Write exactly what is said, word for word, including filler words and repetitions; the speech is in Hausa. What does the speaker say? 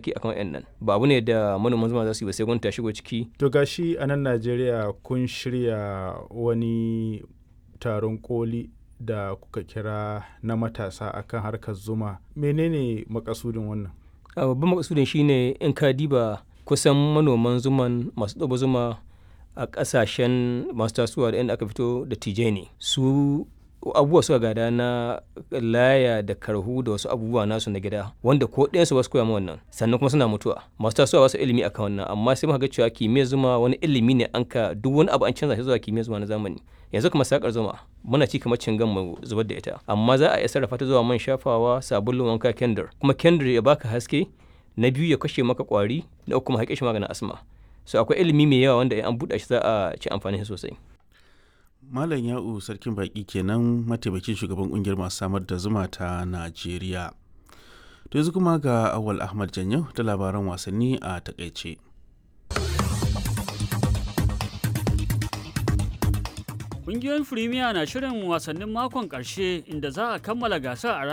bincike akan wayannan. Ba abu ne da manoman zuma za su yi ba, sai gwamnati ta shigo ciki. To gashi a nan Najeriya kun shirya wani taron koli da kuka kira na matasa akan harkar zuma. Menene makasudin wannan? A babban makasudin shine in ka diba kusan manoman zuman masu ɗaba zuma a ƙasashen masu tasowa da inda aka fito da tijai ne su, abubuwa suka gada na laya da karhu da wasu abubuwa nasu na gida wanda ko ɗayansu ba su koya ma wannan. Sannan kuma suna mutuwa, masu tasowa ba su ilimi akan wannan. Amma sai muka ga cewa kimiyyar zuma wani ilimi ne, an ka duk wani abu an canza shi zuwa kimiyyar zuma na zamani. Yanzu kamar sakar zuma, muna ci kamar cingan mu zubar da ita, amma za a iya sarrafa ta zuwa man shafawa, sabulun wanka, kendir. Kuma kendir ya baka haske, na biyu ya kashe maka kwari, na uku kuma haƙe shi maganin asma. So akwai ilimi mai yawa wanda in an buɗe shi za a ci amfani sosai. Malam Ya'u Sarkin Baƙi kenan, mataimakin shugaban ƙungiyar masu samar da zuma ta Najeriya. To yanzu kuma ga Awal Ahmad Janyo da labaran wasanni a takaice. Ƙungiyoyin Firimiya na shirin wasannin makon ƙarshe inda za a kammala gasar a